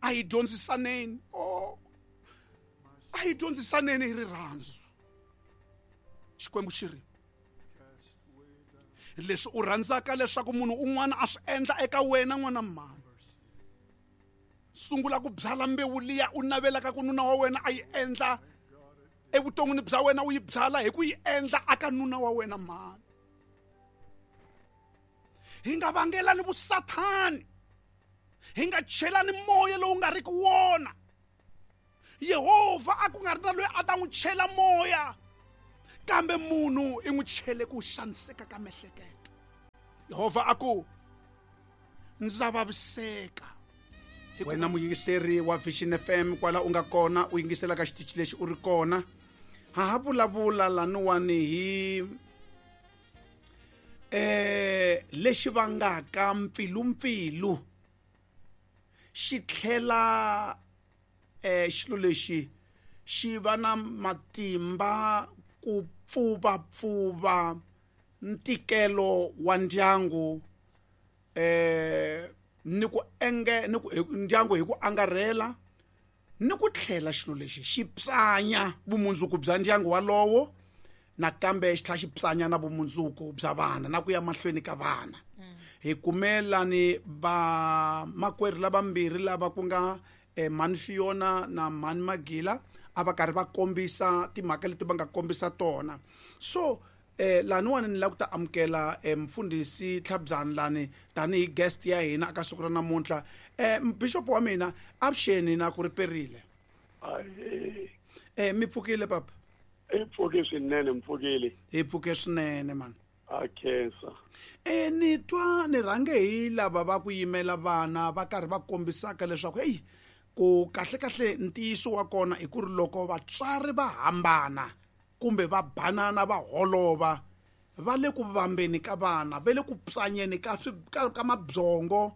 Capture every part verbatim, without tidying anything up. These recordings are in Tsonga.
A hi dyondzisaneni oh a hi dyondzisaneni hi rirhandzu. Xikwembu xi ri leswi u rhandzaka leswaku munhu un'wana a swi endla eka wena n'wana mhani, sungula ku byala mbewu liya u navelaka ku nuna wa wena a yi endla evuton'wini bya wena, u yi byala hi ku yi endla aka nuna wa wena mhani. Hi nga vangelani vusathani, hi nga chelani moya lowu nga riki wona. Yehovha a ku nga ri na loyi a ta n'wi chela moya, kambe munhu i n'wi chele ku xaniseka ka miehleketo. Yehovha a ku ndza vaviseka. Wena muyingiseri wa Vision F M kwala u nga kona u yingisela ka xitichi lexi u ri kona, ha ha vulavula laniwani hi eh lexi vangaka mpfilumpfilu xi tlhela eh xilo lexi xi va na matimba ku pfuvapfuva ntikelo wa ndyangu eh ni ku enge ni ku ndyangu hi ku angarhela, ni ku tlhela xilo lexi xi pyanya vumundzuku bya ndyangu walowo, nakambe xi tlhela xi pyanya na vumundzuku bya vana na ku ya mahlweni ka vana. Hi kumelani va makwerhu lavambirhi lava ku nga eh, Mhani Fiona na Mhani Magila a va karhi va kombisa timhaka leti va nga kombisa tona. So eh laniwani ni lava ku ta amukela eh, mfundhisi Tlhabyani lani tanihi guest ya hina aka siku ra namuntlha. Eh bishop wa mina, avuxeni na ku ri perile. Eh mi pfukile papa? Hi pfuke swinene, mi pfukile. Hi pfuke swinene man. A khensa. Eh ni twa ni rhange hi lava va ku yimela vana va karhi va kombisaka leswaku hey ku kahle kahle ntiyiso wa kona i ku ri loko vatswari va hambana kumbe va banana va holova va le ku vambeni ka vana, va le ku pyanyeni ka ka, ka mabyongo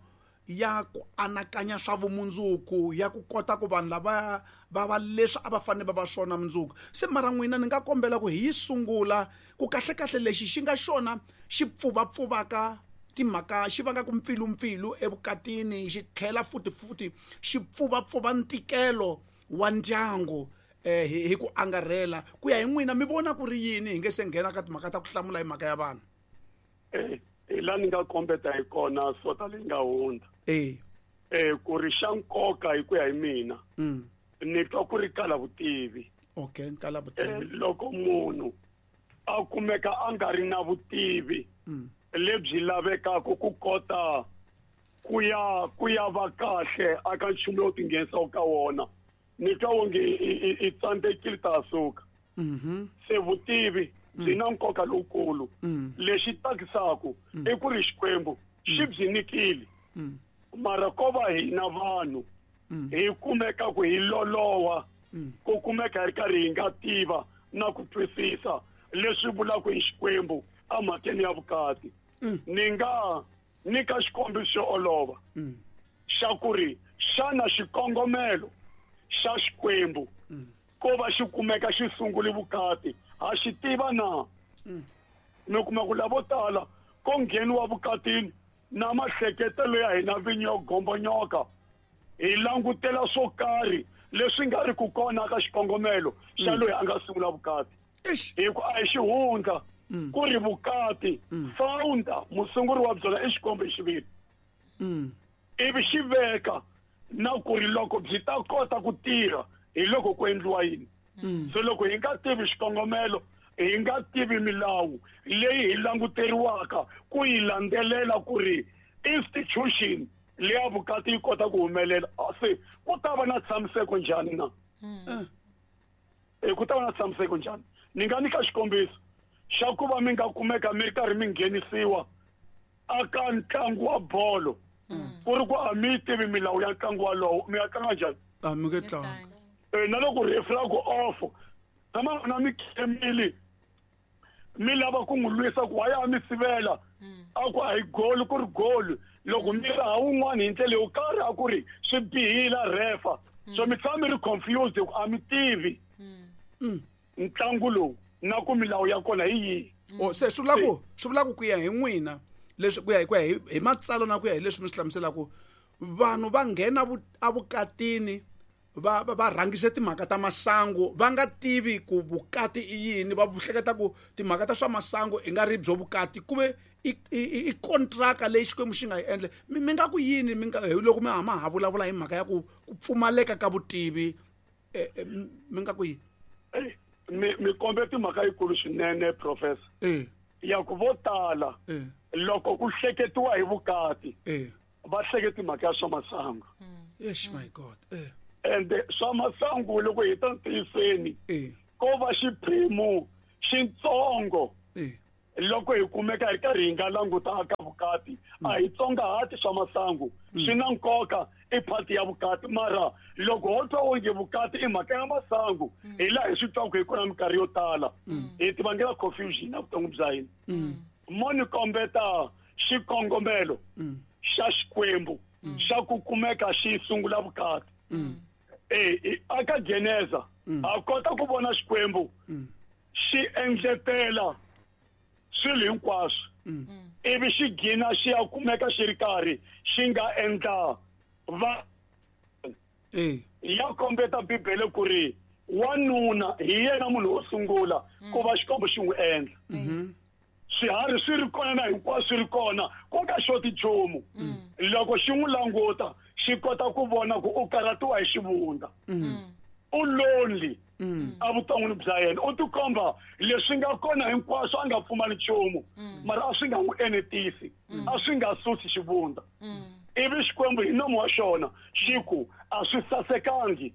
ya ku anakanya swa vumundzuku, ya ku kota ku vanhu lava va va leswi a va fanele va va swona mundzuku. Se mara n'wina ni nga kombela ku hi yi sungula ku kahle kahle lexi xi nga xona xi pfuvapfuvaka timhaka, xi vangaka mpfilumpfilu evukatini, xi tlhela futi futi xi pfuvapfuva ntikelo wa ndyangu eh hi, hi ku angarhela. Ku ya hi n'wina mi vona ku ri yini hi nge se nghena ka timhaka ta ku hlamula hi mhaka ya vanhu? Eh hi laha ni nga kombeta hi kona sota leyi nga hundza. Eh. Eh ku ri xa nkoka hi ku ya hi mina. Mm. Ni twa ku ri kala vutivi. Okay, kala vutivi. Eh, loko munhu a kumeka a nga ri na vutivi mm. lebyi lavekaka ku kota ku ya ku ya va kahle aka nchumu lowu tinghenisaka ka wona, ni twa wonge i tsandzekile ta suka. Mhm. Se vutivi byi na nkoka lowukulu. Lexi tsakisaka i ku ri Xikwembu xi byi nyikile. Mara ko va hina vanhu hi kumeka ku hi loloha, ku kumeka hi ri karhi hi nga tiva na ku twisisa leswi vulaka hi Xikwembu emhakeni ya vukati. Ni nga nyika xikombiso xo olova xa ku ri xana xikongomelo xa Xikwembu ko va xi kumeka xi sungule vukati ha xi tiva na? Mi kuma ku lavo tala ko ngheniwa vukatini na mahleketelo ya hina vinyi yo gombonyoka, hi langutela swo karhi leswi nga ri ku kona ka xikongomelo xa loyi a nga sungula vukati. Hi ku a hi xihundla ku ri vukati founder musunguri wa byona i Xikwembu hi xiviri. Ivi xi veka na ku ri loko byi ta kota ku tirha hi loko ku endliwa yini. So loko hi nga tivi xikongomelo, hi nga tivi milawu leyi hi languteriwaka ku yi landzelela ku ri institution leya vukati yi kota ku humelela, se ku ta va na tshamiseko njhani na? E ku ta va na tshamiseko njhani? Ni nga nyika xikombiso xa ku va mi nga kumeka mi ri karhi mi nghenisiwa aka ntlangu wa bolo, ku ri ku a mi tivi milawu ya ntlangu walowo, mi ya tlanga njhani? A mi nge tlanga. E na loko referee a ku off, tshama na mi khemile mi lava ku n'wi lwisa ku why a mi sivela, a ku a hi goal ku ri goal, loko mi raha wun'wana hi ndlela yo karhi a ku ri swi bihile refa. So mi tshama mi ri confused ku a mi tivi ntlangu lowu na ku milawu ya kona hi yihi. Oh, se swi vula ku swi vula ku ku ya hi n'wina leswi ku ya hi ku ya hi, hi matsalwa na ku ya hi leswi mi swi hlamuselaka, Vanhu va nghena evukatini va va rhangise timhaka ta masangu va nga tivi ku vukati i yini, va hleketa ku timhaka ta swa masangu i nga ri byo vukati ku ve i i kontraka leyi Xikwembu xi nga yi endla. Mi nga ku yini mi nga loko mi hama ha vulavula hi mhaka ya ku ku pfumaleka ka vutivi, mi nga ku yini? Mi mi kombe timhaka yikulu swinene professor. Eh. Ya ku vo tala loko ku hleketiwa hi vukati va hleketi mhaka ya swa masangu. Yes my God. Eh. Ende swa masangu loko hi ta ntiyiseni ko va xiphemu xitsongo loko hi kumeka hi karhi hi nga languta ka vukati a hi tsongahati swa masangu swi na nkoka i part ya vukati, mara loko ho twa onge vukati i mhaka ya masangu hi laha hi swi twaka hi kona minkarhi yo tala hi ti vangela confusion evuton'wini bya hina. Mo ni kombeta xikongomelo xa Xikwembu xa ku kumeka xi sungula vukati. Eh aka Geneza a kota ku vona Xikwembu xi endletela swilo hinkwaswo ivi xi gina xi ya kumeka xi ri karhi xi nga endla va ya kombeta Bibele ku ri wanuna hi yena munhu wo sungula ku va Xikwembu xi n'wi endla. Swiharhi swi ri kona na hinkwaswo swi ri kona ku nga xoti nchumu. Loko xi n'wi languta xi kota ku vona ku u karhatiwa hi xivundza, u lonely evuton'wini bya yena, u tikomba leswi nga kona hinkwaswo a nga pfumali nchumu, mara a swi nga n'wi enetisi, a swi nga susi xivundza. Ivi Xikwembu hi nomu wa xona xi ku a swi sasekangi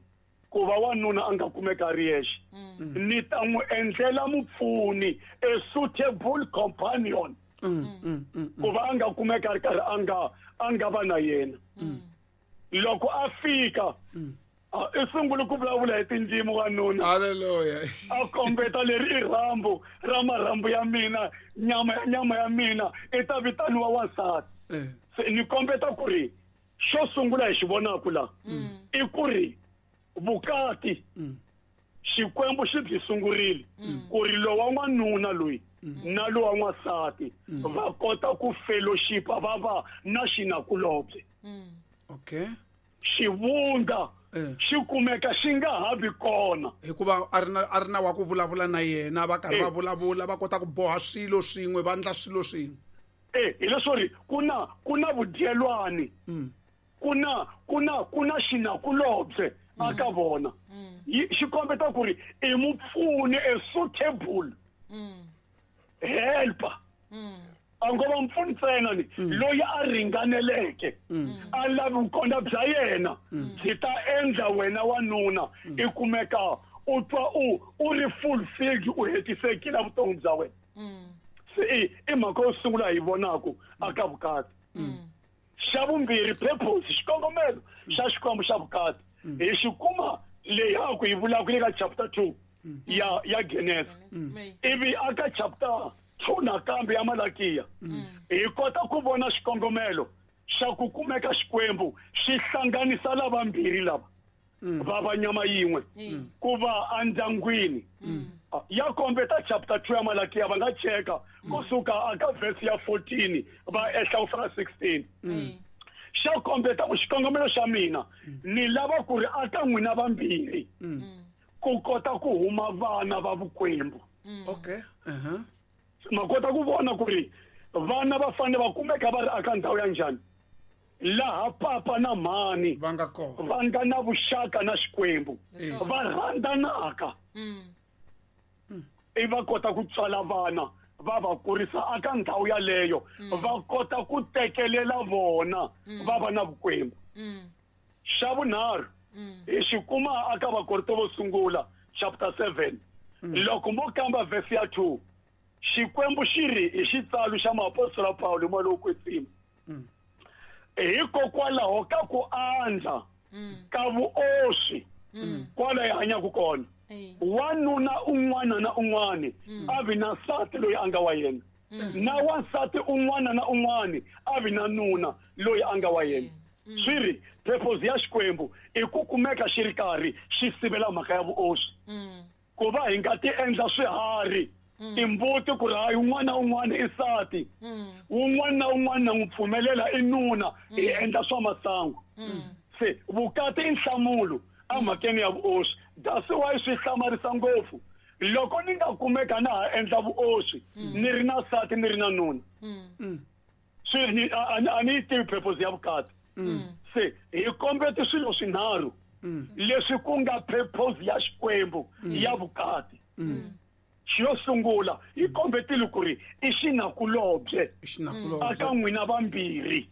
ku va wanuna a nga kumeka a ri yexe, ni ta n'wi endlela mupfuni, a suitable companion, ku va a nga kumeka a ri karhi a nga a nga va na yena. Loko a fika i sungule ku vulavula hi tindzimi wanuna. Haleluya. A kombeta leri i rhambu ra marhambu ya mina, nyama ya nyama ya mina i ta vitaniwa wansati. Se ni kombeta ku ri xo sungula hi xi vonaka la i ku ri vukati Xikwembu xi byi sungurile ku ri lowa n'wanuna loyi na lowa n'wansati va kota ku fellowship va va na xinakulobye. Okay. Xivundza xi kumeka xi nga ha vi kona hikuva a ri na a ri na wa ku vulavula na yena, va karhi va vulavula va kota ku boha swilo swin'we va endla swilo swin'we. Eh hi leswo ri ku na ku na vudyelwani, ku na ku na ku na xinakulobye aka vona. Xi kombeta ku ri i mupfuni, a suitable helper. A ngo va mpfuni ntsena ni loyi a ringaneleke, a lavi vukona bya yena byi ta endla wena wanuna i kumeka u twa u u ri fulfilled, u hetisekile vutomi bya wena. Se i i mhaka yo sungula hi vonaka aka vukati. Xa vumbirhi, purpose, xikongomelo xa Xikwembu xa vukati hi xi kuma leyi a ku yi vulaka le ka chapter two ya ya Genesis, ivi aka chapter two nakambe ya Malakiya hi kota ku vona xikongomelo xa ku kumeka Xikwembu xi hlanganisa lavambirhi lava va va nyama yin'we ku va endyangwini. Ya kombeta chapter two ya Malakiya, va nga cheka kusuka aka verse ya fourteen va ehla ku fika sixteen. Xa kombeta ku xikongomelo xa mina ni lava ku ri aka n'wina vambirhi ku kota ku huma vana va vukwembu. Okay. Uh-huh. Ma kota ku vona ku ri vana va fanele va kumeka va ri aka ndhawu ya njhani, laha papa na mhani va nga kona, va nga na vuxaka na Xikwembu, va rhandzanaka, i va kota ku tswala vana va va kurisa aka ndhawu yaleyo, va kota ku tekelela vona va va na vukwembu. Xa vunharhu hi xi kuma aka Vakorinto vo sungula chapter seven, loko mo kamba verse ya two, Xikwembu xi ri hi xitsalo xa muapostola Pawulo moya lowo kwetsima, hikokwalaho ka ku andza ka vuoswi kwala hi hanyaka kona, wanuna un'wana na un'wana a vi na nsati loyi a nga wa yena, na wansati un'wana na un'wana a vi na nuna loyi a nga wa yena. Swi ri purpose ya Xikwembu i ku kumeka xi ri karhi xi sivela mhaka ya vuoswi, ku va hi nga ti endla swiharhi Timbuti ku ri hayi un'wana na un'wana i nsati, un'wana na un'wana na n'wi pfumelela i nuna, hi endla swa masangu. Se vukati i nhlamulo emhakeni ya vuoswi. That's why swi hlamarisa ngopfu loko ni nga kumeka na ha endla vuoswi ni ri na nsati ni ri na nuna. Swi ni a ni yi tivi purpose ya vukati. Se hi kombete swilo swinharhu leswi ku nga purpose ya Xikwembu ya vukati. Xo sungula hi kombetile ku ri i xinakulobye aka n'wina vambirhi.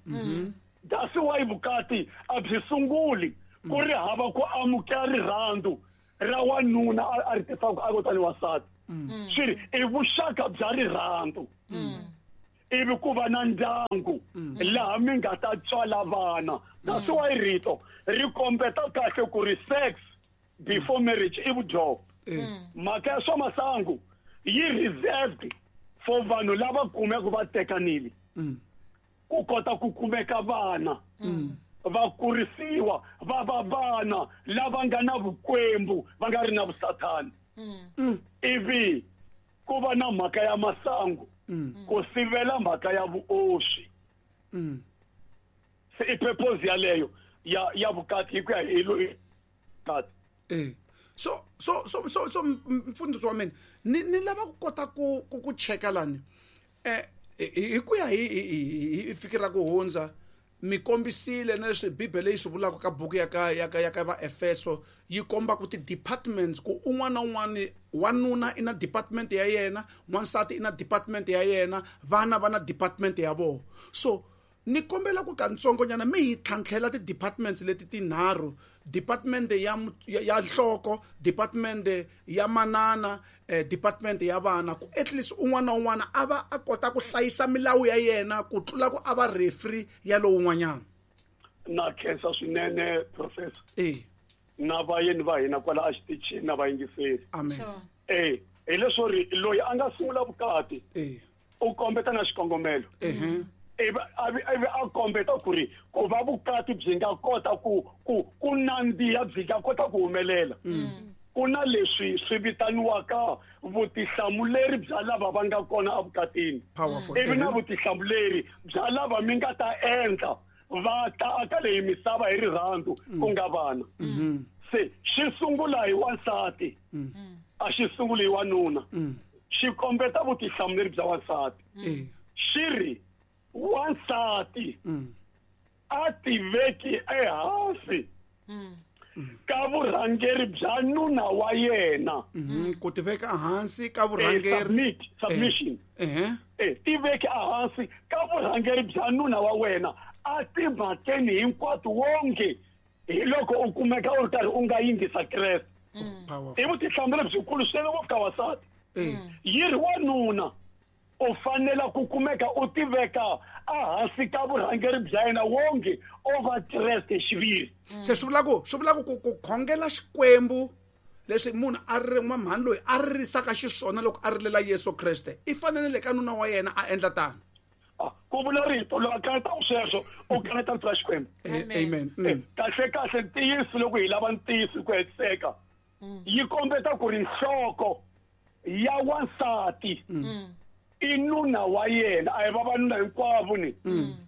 That's why vukati a byi sunguli ku ri hava ku amukela rirhandzu ra wanuna a ri tisaka a kotani wansati. Swi ri i vuxaka bya rirhandzu ivi ku va na ndyangu laha mi nga ta tswala vana. That's why rito ri kombeta kahle ku ri sex before marriage i vudyoho. Mhaka ya swa masangu yi reserved for vanhu lava kumeka va tekanile ku kota ku kumeka vana va kurisiwa va va vana lava nga na vukwembu va nga ri na vusathani. Ivi ku va na mhaka ya masangu ku sivela mhaka ya vuoswi. Se i purpose yaleyo ya ya vukati hi ku ya hi vukati. Eh so so so so so mfundhisi wa mina ni ni lava ku kota ku ku cheka lani eh hi ku ya hi hi fikira ku hundza mi kombisile na leswi Bibele yi swi vulaka ka buku ya ka ya ka ya ka va Efeso yi komba ku ti departments ku un'wana na un'wana wanuna i na department ya yena, wansati i na department ya yena, vana va na department ya vona. So ni kombela ku kantsongonyana mi hi tlhantlhela ti departments leti tinharhu, department ya ya nhloko, department ya manana, eh, department ya vana, ku at least un'wana na un'wana a va a kota ku hlayisa milawu ya yena ku tlula ku a va referee ya lowun'wanyana. Na khensa swinene professor. Eh na vayeni va hina kwala a xitichini na vayingiseri. Amen. Eh hi leswo ri loyi a nga sungula vukati eh u kombeta na xikongomelo. Eh ivi ivi a kombeta ku ri ku va vukati byi nga kota ku ku ku nandziha byi nga kota ku humelela. Ku na leswi swi vitaniwaka vutihlamuleri bya lava va nga kona evukatini. Ivi na vutihlamuleri bya lava mi nga ta endla va ta aka leyi misava hi rirhandzu ku nga vana. Se xi sungula hi wansati a xi sunguli hi wanuna. Xi kombeta vutihlamuleri bya wansati. Xi ri wansati a tiveki ehansi ka vurhangeri bya nuna wa yena. Ku tiveka ehansi ka vurhangeri, submission. Eh tiveki ehansi ka vurhangeri bya nuna wa wena a timhakeni hinkwato wonge hi loko u kumeka u ri karhi u nga yingisa Kreste. I vutihlamuleri byikulu swinene ngopfu ka wansati. Yi ri wanuna u fanela ku kumeka u tiveka ehansi ka vurhangeri bya yena wonge o va Kreste xiviri. Se swi vula ku swi vula ku ku khongela Xikwembu leswi munhu a ri n'wamhani loyi a ririsaka xiswona loko a rilela Yesu Kreste i fanele le ka nuna wa yena a endla tano. Ku vula rito loko a kaneta sweswo u kaneta rito ra Xikwembu. Amen. Kahle kahle ntiyiso loko hi lava ntiyiso ku hetiseka yi kombeta ku ri nhloko ya wansati i nuna wa yena, a hi vavanuna hinkwavo ni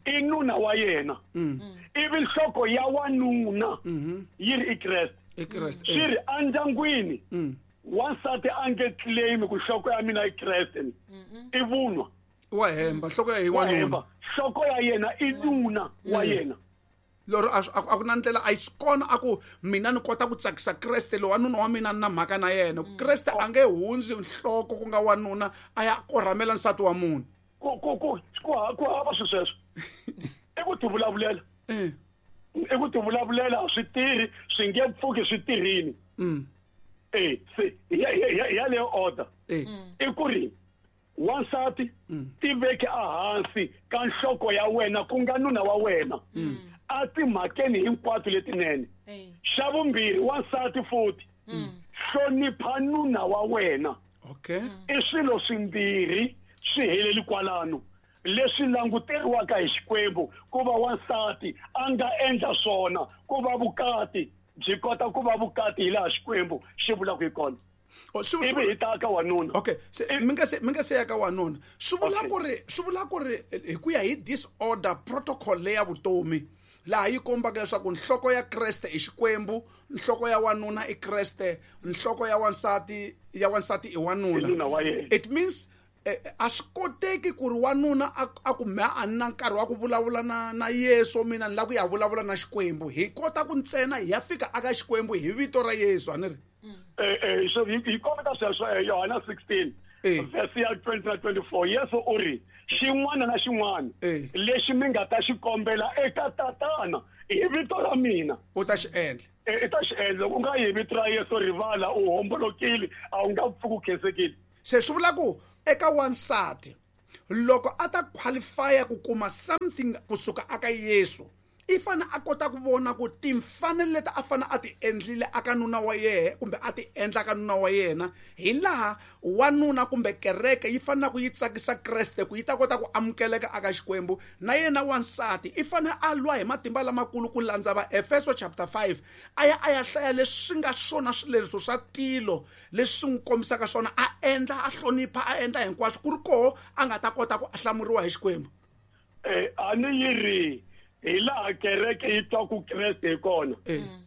i nuna wa yena. Ivi nhloko ya wanuna yi ri i Kreste. Swi ri endyangwini wansati a nge claim ku nhloko ya mina i Kreste ni i vunwa. Wa hemba, nhloko ya wanuna. Nhloko ya yena i nuna wa yena. Lero a ku na ndlela a yi swi kona a ku mina ni kota ku tsakisa Kreste loyi wanuna wa mina ni na mhaka na yena. Kreste a nge hundzi nhloko ku nga wanuna a ya korhamela nsati wa munhu. Ku ku ku ku ku hava swi sweswo. I ku tivulavulela. I ku tivulavulela a swi tirhi, swi nge pfuki swi tirhini. Eh se yaleyo order. I ku ri wansati tiveke ehansi ka nhloko ya wena ku nga nuna wa wena a timhakeni hinkwato letinene. Xa vumbirhi wansati futhi hlonipha nuna wa wena. Okay. I swilo swimbirhi swi heleli kwalano leswi languteriwaka hi Xikwembu ku va wansati a nga endla swona ku va vukati byi kota ku va vukati hi laha Xikwembu xi vulaka hi kona. Ivi hi ta ka wanuna. Okay, se mi nga se mi nga se ya ka wanuna. Swi vula ku ri swi vula ku ri hi ku ya hi disorder protocol leya vutomi laha yi kombaka leswaku nhloko ya Kreste i Xikwembu, nhloko ya wanuna i Kreste, nhloko ya wansati ya wansati i wanuna. It means a swi koteki ku ri wanuna a ku me a ni na nkarhi wa ku vulavula na na Yesu, mina ni lava ku ya vulavula na Xikwembu. Hi kota ku ntsena hi ya fika aka Xikwembu hi vito ra Yesu, a ni ri? Eh eh so hi kombeta sweswo Yohana sixteen verse ya twenty na twenty-four. Yesu u ri xin'wana na xin'wana lexi mi nga ta xi kombela eka Tatana hi vito ra mina u ta xi endla. I ta xi endla. U nga yi hi vito ra Yesu rivala u hombolokile, a wu nga pfuki u khensekile. Se swi vula ku eka wansati loko a ta qualify ku kuma something kusuka aka Yesu, i fane a kota ku vona ku timfanelo leti a fane a ti endlile aka nuna wa yena kumbe a ti endla ka nuna wa yena, hi laha wanuna kumbe kereke yi fanele ku yi tsakisa Kreste ku yi ta kota ku amukeleka aka Xikwembu. Na yena wansati i fane a lwa hi matimba lamakulu ku landza va Efeso chapter five, a ya a ya hlaya leswi nga swona swileriso swa tilo leswi swi n'wi kombisaka swona, a endla, a hlonipha, a endla hinkwaswo ku ri koho a nga ta kota ku hlamuriwa hi Xikwembu. Eh a ni yi ri hi laha kereke yi twa ku Kreste hi kona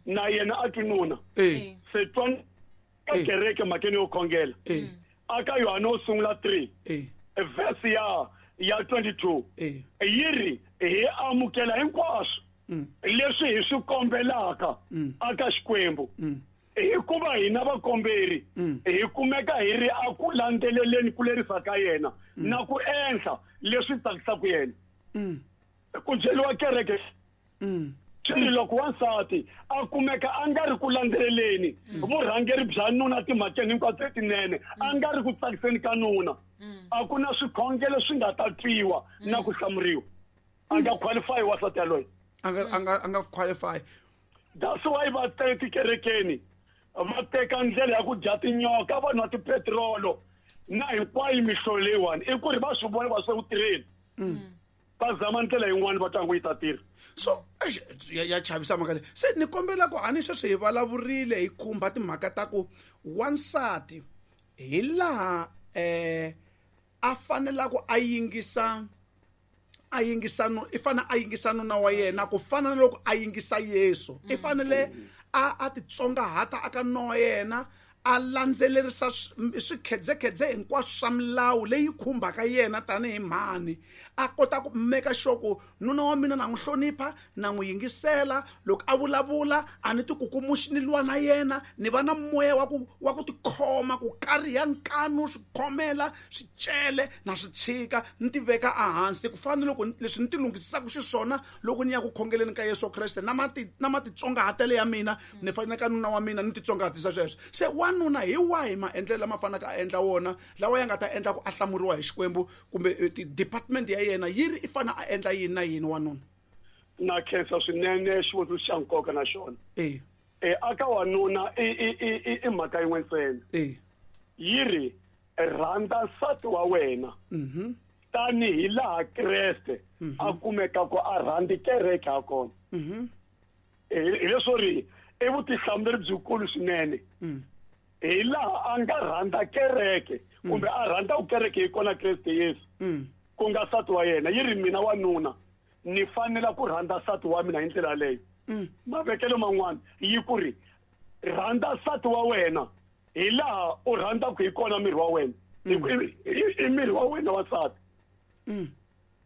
na yena a twi nuna. Se twa ka kereke mhakeni yo khongela aka Yohana wo sungula three verse ya ya twenty-two yi ri hi amukela hinkwaswo leswi hi swi kombelaka aka Xikwembu, hikuva hina vakomberi hi kumeka hi ri a ku landzeleleni ku lerisa ka yena na ku endla leswi tsakisaka yena. Ku byeriwa kereke swi loko wansati a kumeka a nga ri ku landzeleleni vurhangeri bya nuna timhakeni hinkwato letinene, a nga ri ku tsakiseni ka nuna, a ku na swikhongelo swi nga ta twiwa na ku hlamuriwa. A nga qualify wansati yaloye, a nga a nga a nga qualify. That's why va teka tikerekeni va teka ndlela ya ku dya tinyoka, va nwa tipetirolo na hinkwayo mihlovo leyiwani, i ku ri va swi vona va swi ku tirheni va zama ndlela yin'wana va twangu yi ta tirha. So ya ya chavisa mhaka leyi. Se ni kombela ku a ni sweswi hi vulavurile hi khumba timhaka ta ku wansati hi laha eh a fanela ku a yingisa a yingisa no i fanele a yingisa nuna wa yena ku fana na loko a yingisa Yesu. I fanele a a titsongahata aka nuna wa yena, a landzelerisa swikhedzekhedze hinkwaswo swa milawu leyi khumbaka yena tanihi mhani, a kota ku meka sure ku nuna wa mina na n'wi hlonipha, na n'wi yingisela loko a vulavula, a ni tikukumuxi ni lwa na yena, ni va na moya wa ku wa ku tikhoma, ku kariha nkanu, swikhomela swicele na swi tshika, ni ti veka ehansi ku fana na loko leswi ni ti lunghisisaka xiswona loko ni ya ku khongeleni ka Yesu Kreste, na mati na matitsongahatelo ya mina ni fanele ka nuna wa mina ni titsongahatisa sweswo. Se wanuna hi wahi maendlelo lama fanaka a endla wona lawa ya nga ta endla ku a hlamuriwa hi Xikwembu, kumbe department ya yena yi ri i fana a endla yini na yini wanuna? Na khensa swinene xivutiso xa nkoka na xona. Eh eh aka wanuna i i i i mhaka yin'we ntsena. Eh yi ri rhandza nsati wa wena mhm tanihi laha Kreste a kumeka ku a rhandzi kereke ha kona. Mhm hi leswo ri i vutihlamuleri byikulu swinene. Hi laha a nga rhandza kereke kumbe a rhandza ku kereke hi kona Kreste Yesu ku nga nsati wa yena. Yi ri mina wanuna ni fanela ku rhandza nsati wa mina hi ndlela leyo. Mavekelo man'wana yi ku ri rhandza nsati wa wena hi laha u rhandzaka hi kona miri wa wena, i miri wa wena wa nsati.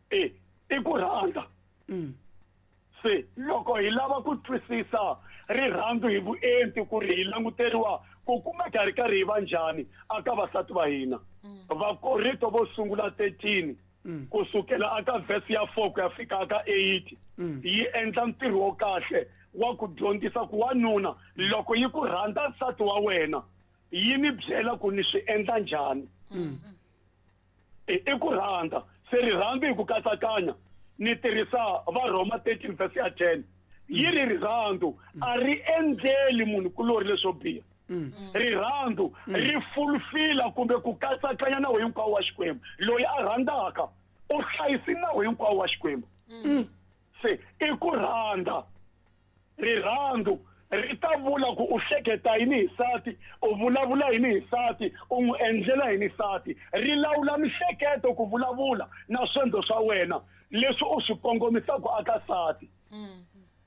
E i ku rhandza. Se loko hi lava ku twisisa rirhandzu hi vuenti ku ri hi languteriwa ku kumeka ri karhi hi va njhani aka vasati va hina, Vakorinto vo sungula thirteen kusukela aka verse ya four ku ya fika aka eight yi endla ntirho wo kahle wa ku dyondzisa ku wanuna loko yi ku rhandza nsati wa wena yi ni byela ku ni swi endla njhani. I ku rhandza. Se rirhandzu hi ku katsakanya ni tirhisa va Roma thirteen verse ya ten yi ri rirhandzu a ri endleli munhu kulori leswo biha. Rirhandzu ri fulfila kumbe ku katsakanya nawu hinkwawo wa Xikwembu. Loyi a rhandzaka u hlayisi nawu hinkwawo wa Xikwembu. Se i ku rhandza. Rirhandzu Ri ta vula ku u hleketa yini hi nsati, u vulavula yini hi nsati, u n'wi endlela yini nsati. Ri lawula mihleketo ku vulavula na swendlo swa wena leswi u swi kongomisaka aka nsati.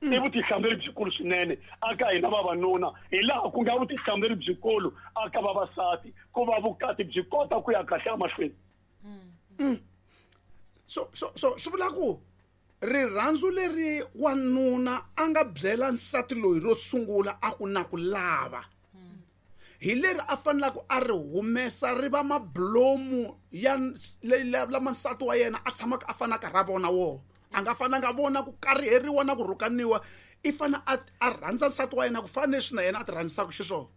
I vutihlamuleri byikulu swinene aka hina vavanuna, hi laha ku nga vutihlamuleri byikulu aka vavasati ku va vukati byi kota ku ya kahle emahlweni. So so so swi vula ku rirhandzu leri wanuna a nga byela nsati loyi ro sungula a ku na ku lava hi leri a fanelaka a ri humesa ri va mablomu ya lama nsati wa yena a tshamaka a fanaka ra vona wona. A nga fananga vona ku kariheriwa na ku rhukaniwa, i fana a a rhandza nsati wa yena ku fana leswi na yena a ti rhandzisaka xiswona.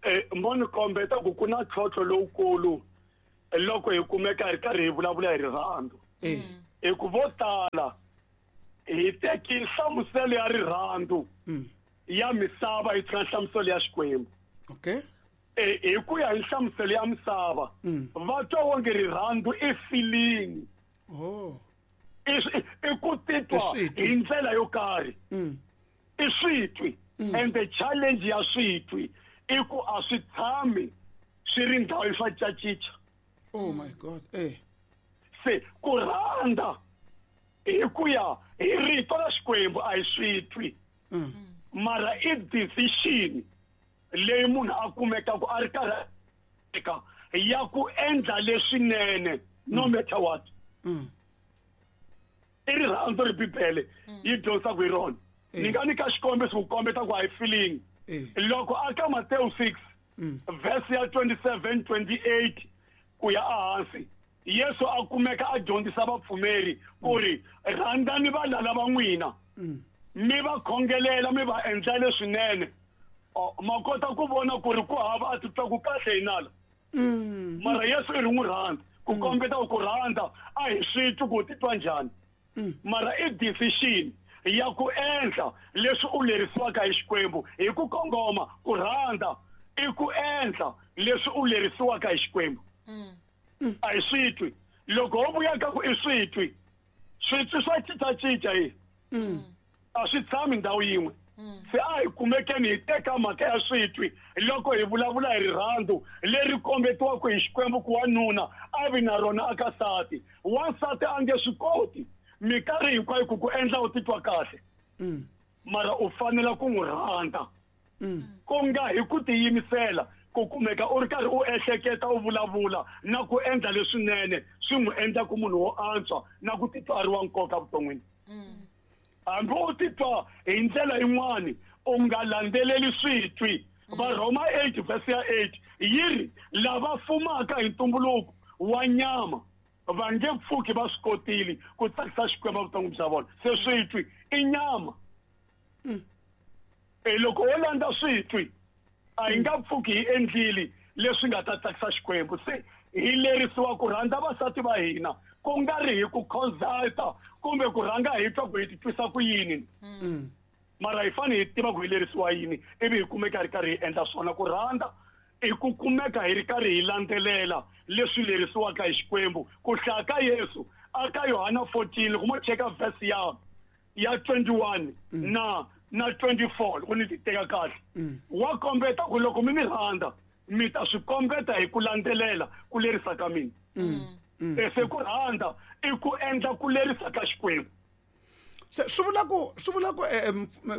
Eh mo ni kombeta ku ku na ntlhontlho lowukulu loko hi kumeka hi ri karhi hi vulavula hi rirhandzu. Hi ku vo tala hi teki nhlamuselo ya rirhandzu ya misava hi tshika nhlamuselo ya Xikwembu. Okay. Eh hi ku ya hi nhlamuselo ya misava va twa onge rirhandzu i feeling. Oh. I ku titwa hi ndlela yo karhi. I switwi. And the challenge ya switwi i ku a swi tshami swi ri ndhawu swa cacica. Oh my God. Eh. Se ku rhandza hi ku ya hi rito ra Xikwembu a hi switwi. Mara i decision leyi munhu a kumekaka a ri karhi ya ku endla leswinene no matter what. I rirhandzu ri Bibele yi dyondzisaka hi rona. Ni nga nyika xikombiso ku kombeta ku a hi feeling. Loko aka Matthew six verse ya twenty-seven twenty-eight ku ya ehansi, Yesu a kumeka a dyondzisa vapfumeri ku ri rhandzani valala va n'wina, mi va khongelela, mi va endla leswinene. Ma kota ku vona ku ri ku hava a titwa ku kahle hi nala. Mara Yesu i ri n'wi rhandza ku kombeta ku rhandza a hi swi twi ku titwa njhani. Mara i decision ya ku endla leswi u lerisiwaka hi Xikwembu hi ku kongoma. Ku rhandza i ku endla leswi u lerisiwaka hi Xikwembu. A hi switwi. Loko ho vuya ka ku i switwi, switwi swa cincacinca hi a swi tshami ndhawu yin'we. Se a hi kumekeni hi teka mhaka ya switwi loko hi vulavula hi rirhandzu leri kombetiwaka hi Xikwembu ku wanuna a vi na rona aka nsati. Wansati a nge swi koti minkarhi hinkwayo ku ku endla u titwa kahle, mara u fanela ku n'wi rhandza ku nga hi ku tiyimisela ku kumeka u ri karhi u ehleketa u vulavula na ku endla leswinene swi n'wi endla ku munhu wo antswa na ku titwa a ri wa nkoka vuton'wini. Hambi u titwa hi ndlela yin'wani u nga landzeleli switwi. Varhoma eight verse ya eight yi ri lava fumaka hi ntumbuluko wa nyama va nge pfuki va swi kotile ku tsakisa Xikwembu vuton'wini bya vona. Se switwi i nyama. E loko wo landza switwi a hi nga pfuki hi endlile leswi nga ta tsakisa Xikwembu. Se hi lerisiwa ku rhandza vasati va hina ku nga ri hi ku consulta kumbe ku rhanga hi twa ku hi titwisa ku yini. Mara hi fanele hi tiva ku hi lerisiwa yini ivi hi kumeka hi ri karhi hi endla swona. Ku rhandza i ku kumeka hi ri karhi hi landzelela leswi lerisiwaka hi Xikwembu. Ku hlaya ka Yesu aka Yohana fourteen loko mo cheka verse ya ya twenty-one na na twenty-four loko ni ti teka kahle, wa kombeta ku loko mi ni rhandza mi ta swi kombeta hi ku landzelela ku lerisa ka mina. Se ku rhandza i ku endla ku lerisa ka Xikwembu. Se swi vula ku swi vula ku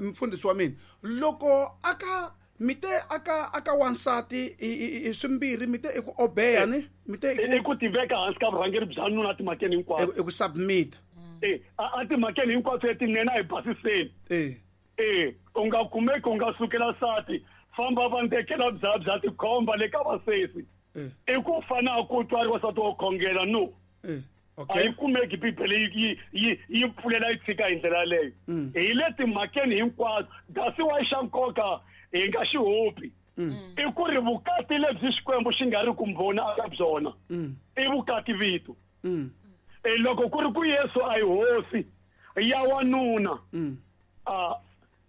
mfundhisi wa mina loko aka mite aka aka wansati i swimbirhi mite i ku obeya ni mite i ku tiveka hansi ka vurhangeri bya nuna timhakeni hinkwato, i ku submit eh a timhakeni hinkwato letinene a hi basiseni. Eh eh u nga kumeki u nga sukela nsati famba va ndekela bya bya tikhomba le ka vasesi. I ku fana ku twa ri wasati wo khongela no. Okay. A yi kumeki Bibele yi yi yi pfulela yi tshika hi ndlela yaleyo. Hi le timhakeni hinkwato kasi wa xa nkoka hi nga xi hopi i ku ri vukati lebyi Xikwembu xi nga ri ku mbhoni aka byona i vukati vito. E loko ku ri ku Yesu a hi hosi ya wanuna, a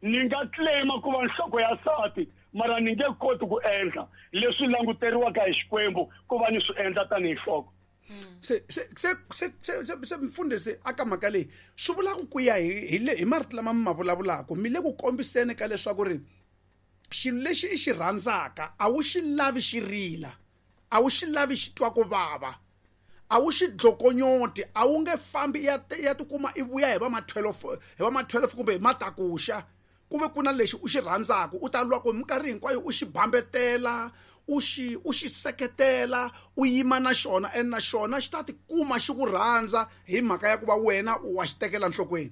ni nga claima ku va nhloko ya nsati mara ni nge koti ku endla leswi languteriwaka hi Xikwembu ku va ni swi endla tanihi nhloko. Se se se se se se mfundhisi aka mhaka leyi swi vula ku ku ya hi hi le hi marito lama mi ma vulavulaka mi le ku kombiseni ka leswaku ri xilo lexi i xi rhandzaka a wu xi lavi xi rila, a wu xi lavi xi twa ku vava, a wu xi dlokonyoti, a wu nge fambi ya ya tikuma i vuya hi va ma twelve hi va ma twelve kumbe hi matakuxa ku ve ku na lexi u xi rhandzaka u ta lwa ku minkarhi hinkwayo u xi bambetela u xi u xi seketela u yima na xona and na xona xi ta tikuma xi ku rhandza hi mhaka ya ku va wena u wa xi tekela nhlokweni.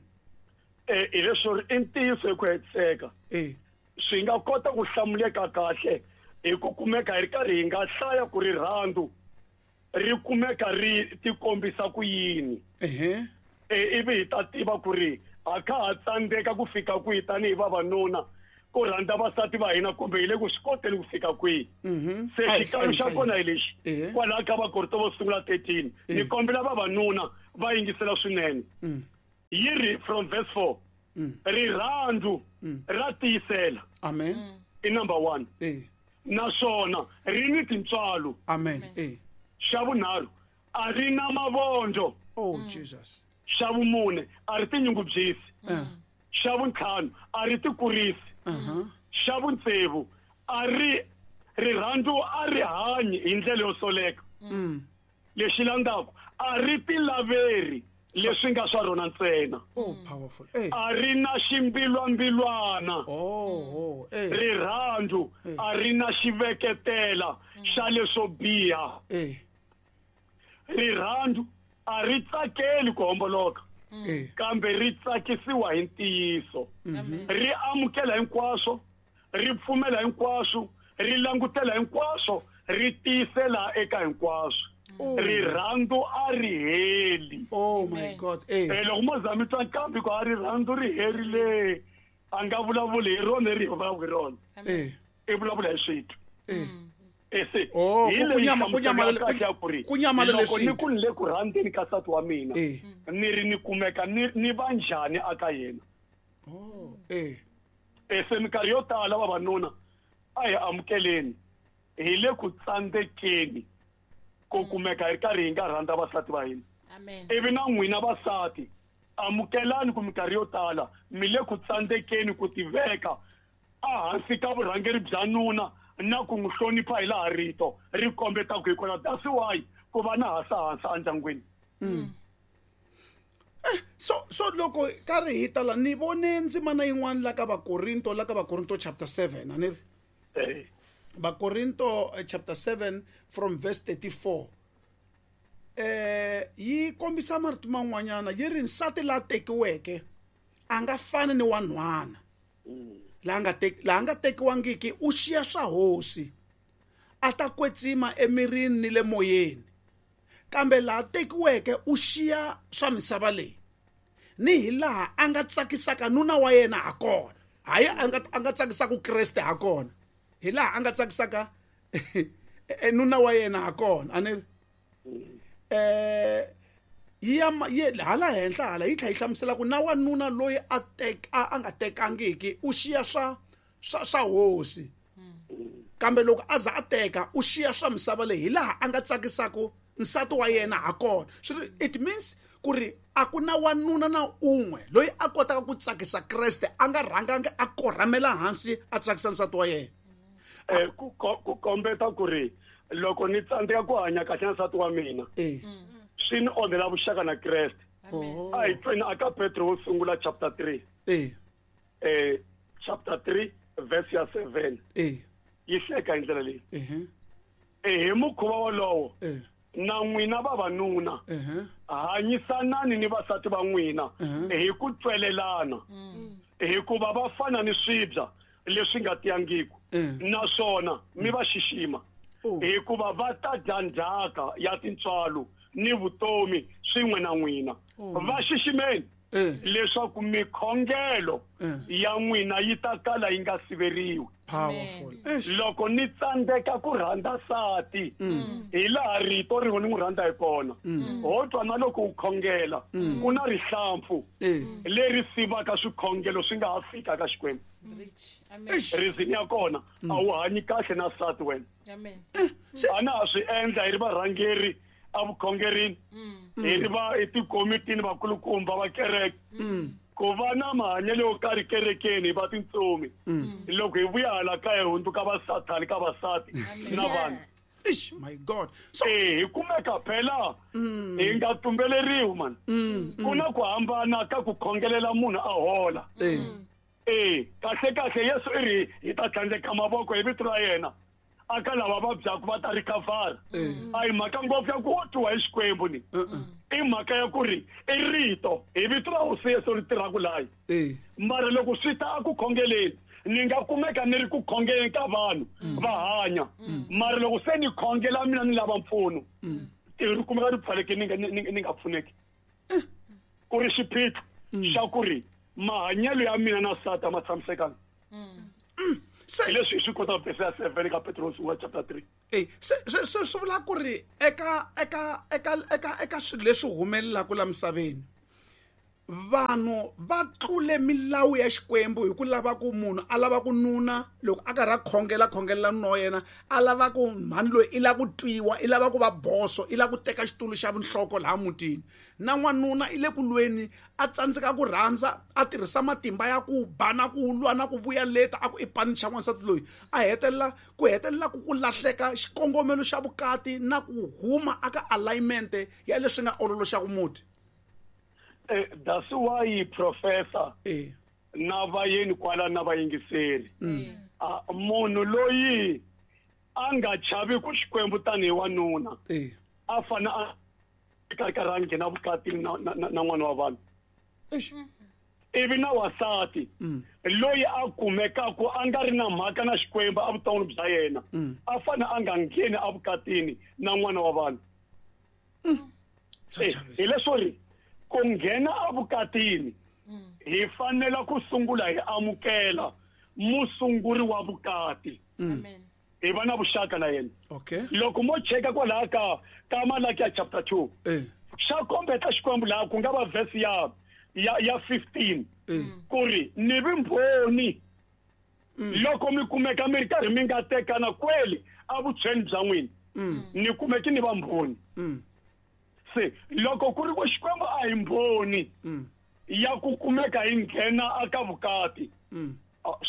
Eh hi leswo ri i ntiyiso hi ku hetiseka. Eh swi nga kota ku hlamuleka kahle hi ku kumeka hi ri karhi hi nga hlaya ku rirhandzu ri kumeka ri tikombisa ku yini. Ehe ivi hi ta tiva ku ri a kha ha tsandzeka ku fika kwihi tanihi vavanuna ku rhandza vasati va hina kumbe hi le ku swi koteni ku fika kwihi. Se xikalo xa kona hi lexi kwalaha ka Vakorinto vo sungula thirteen ni kombela vavanuna va yingisela swinene. Yi ri from verse four rirhandzu ra tiyisela. Amen. I number one. Naswona ri ni tintswalo. Amen. Xa vunharhu a ri na mavondzo. Oh Jesus. Xa vumune a ri tinyungubyisi. Xa vuntlhanu a ri tikurisi. Xa vuntsevu a ri rirhandzu a ri hanyi hi ndlela yo soleka. Lexi landzaka a ri tilaveri leswi nga swa rona ntsena. Oh powerful. A ri na ximbilwambilwana. Oh oh. Rirhandzu a ri na xiveketela xa leswo biha. Rirhandzu a ri tsakeli ku homboloka kambe ri tsakisiwa hi ntiyiso. Ri amukela hinkwaswo, ri pfumela hinkwaswo, ri langutela hinkwaswo, ri tiyisela eka hinkwaswo. Rirhandzu a ri heli. Oh my God. Eh loko mo za mi twa nkambi ku a rirhandzu ri herile a nga vulavuli hi rona ri vulavula hi rona. Eh i vulavula hi switwi. Eh ese oh kunyama kunyama kunyama loko ni ku le ku rhandzeni ka nsati wa mina ni ri ni kumeka ni ni va njhani aka yena. Oh eh ese minkarhi yo tala vavanuna a hi amukeleni hi le ku tsandzekeni ku kumeka hi karhi hi nga rhandza vasati va hina. Amen. Ivi na n'wina vasati amukelani ku minkarhi yo tala mi le ku tsandzekeni ku tiveka ehansi ka vurhangeri bya nuna na ku n'wi hlonipha hi laha rito ri kombetaka hi kona. That's why ku va na hasahasa endyangwini. Eh so so loko karhi hi tala ni vone ndzimana yin'wana la ka Vakorinto la ka Vakorinto chapter seven a ni ri eh Vakorinto chapter seven from verse thirty-four eh yi kombisa marito man'wanyana yi ri nsati la tekiweke a nga fani ni wanhwana la nga tek la nga tekiwangiki u xiya swa hosi a ta kwetsima emirini ni le moyeni kambe la tekiweke u xiya swa misava leyi ni hi laha a nga tsakisaka nuna wa yena ha kona hayi a nga a nga tsakisaka Kreste ha kona hi laha a nga tsakisaka nuna wa yena ha kona a ni eh ya hala henhla hala yi tlhela yi hlamusela ku na wanuna loyi a tek a nga tekangiki u xiya swa swa swa hosi kambe loko a za a teka u xiya swa misava leyi hi laha a nga tsakisaka nsati wa yena ha kona. Swi it means ku ri a ku na wanuna na un'we loyi a kotaka ku tsakisa Kreste a nga rhangangi a korhamela hansi a tsakisa nsati wa yena. Eh ku ku kombeta ku ri loko ni tsandzeka ku hanya kahle na nsati wa mina swi ni onhela vuxaka na Kreste. A hi tweni aka Petro wo sungula chapter three eh eh chapter three verse ya seven eh yi hleka hi ndlela leyi. Eh eh hi mukhuva wolowo eh na n'wina vavanuna hanyisanani ni vasati va n'wina hi ku twelelana hikuva va fana ni swibya leswi nga tiyangiki naswona mi va xixima hikuva va ta dya ndzhaka ya tintswalo ni vutomi swin'we na n'wina. Va xiximeni leswaku mikhongelo ya n'wina yi ta kala yi nga siveriwi. Powerful. Loko ni tsandzeka ku rhandza nsati hi laha rito ri ni n'wi rhandza hi kona ho twa na loko u khongela ku na rihlampfu leri sivaka swikhongelo swi nga ha fika ka Xikwembu. Reason ya kona a wu hanyi kahle na nsati wena. Amen. A na ha swi endla hi ri varhangeri evukhongerini hi ri va etikomitini vakulukumba va kereke ku va na mahanyelo yo karhi kerekeni hi va tintsumi loko hi vuya hala kaya hi hundzuka vasathani ka vasati na vanhu. Ish, my God. So eh hi kumeka phela hi nga tumbeleriwi man. Ku na ku hambana ka ku khongelela munhu a hola. Eh kahle kahle Yesu i ri hi ta tlhandleka mavoko hi vito ra yena aka lava vabyaka va ta recover. A hi mhaka ngopfu ya ku twiwa hi Xikwembu ni i mhaka ya ku ri i rito hi vito ra Hosi Yesu ri tirhaka layi. Mara loko swi ta a ku khongeleni ni nga kumeka ni ri ku khongeleni ka vanhu va hanya mara loko se ni khongela mina ni lava mpfuno ri kumeka ri pfaleke ni nga ni nga pfuneki ku ri xiphiqo xa ku ri mahanyelo ya mina na sata ma tshamisekanga. Se leswi hi swi kota verse ya seven ka Petros wa chapter three. Eh se se swi vula ku ri eka eka eka eka eka swilo leswi humelelaka la misaveni vanhu va tlule milawu ya Xikwembu hi ku lava ku munhu a lava ku nuna loko a karhi a khongela khongelela nuna wa yena a lava ku mhani loyi i lava ku twiwa i lava ku va boso i lava ku teka xitulu xa vunhloko laha mutini na n'wanuna i le ku lweni a tsandzeka ku rhandza a tirhisa matimba ya ku ba na ku lwa na ku vuya leta a ku i panicha n'wansati loyi a hetelela ku hetelela ku ku lahleka xikongomelo xa vukati na ku huma aka alignment ya leswi nga ololoxaka muti. Eh, that's why professor eh na vayeni kwala na vayingiseri ah munhu loyi a nga chavi ku Xikwembu tanihi wanuna eh a fana a ka ka rangi na vukati na na n'wana wa vanhu ivi na wasati loyi a kumekaka a nga ri na mhaka na Xikwembu a vuton'wini bya yena a fana a nga ngheni evukatini na n'wana wa vanhu. Hi leswo ri ku nghena evukatini hi fanela ku sungula hi amukela musunguri wa vukati hi va na vuxaka na yena. Okay loko mo cheka kwalaha ka ka Malaki ya chapter two xa kombeta Xikwembu laha ku nga va verse ya ya ya fifteen ku ri ni vimbhoni loko mi kumeka mi ri karhi mi nga tekana kweli evutshweni bya n'wina ni kumeki ni va mbhoni. Se loko ku ri ku Xikwembu a hi mbhoni ya ku kumeka hi nghena aka vukati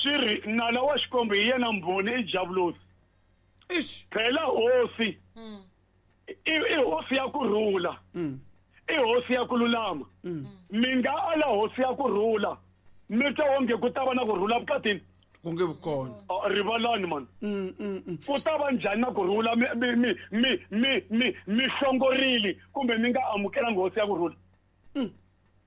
swi ri nala wa Xikwembu hi yena mbhoni i Diablos. Phela hosi i hosi ya ku rhula i hosi ya ku lulama mi nga ala hosi ya ku rhula mi twa onge ku ta va na ku rhula vukatini ku nge vukona rivalani man ku ta va njhani na ku rhula mi mi mi mi mi mi mi hlongorile kumbe mi nga amukelanga hosi ya ku rhula.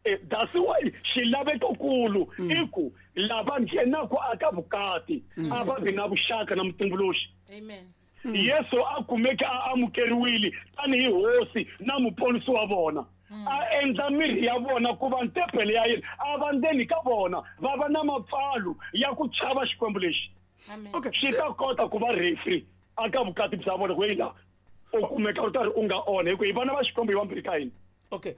Eh that's why xilavekokulu i ku lava nghenaka aka vukati a va vi na vuxaka na mutumbuluxi. Amen. Yesu a kumeke a amukeriwile tanihi hosi na muponisi wa vona a endla mirhi ya vona ku va ntempele ya yena a va ndzeni ka vona va va na mapfalo ya ku chava Xikwembu lexi. Okay xi ta kota ku va referee aka vukati bya vona ku yila u kumeka u karhi u nga onha hi ku hi vana va Xikwembu hi vambirhi ka hina. Okay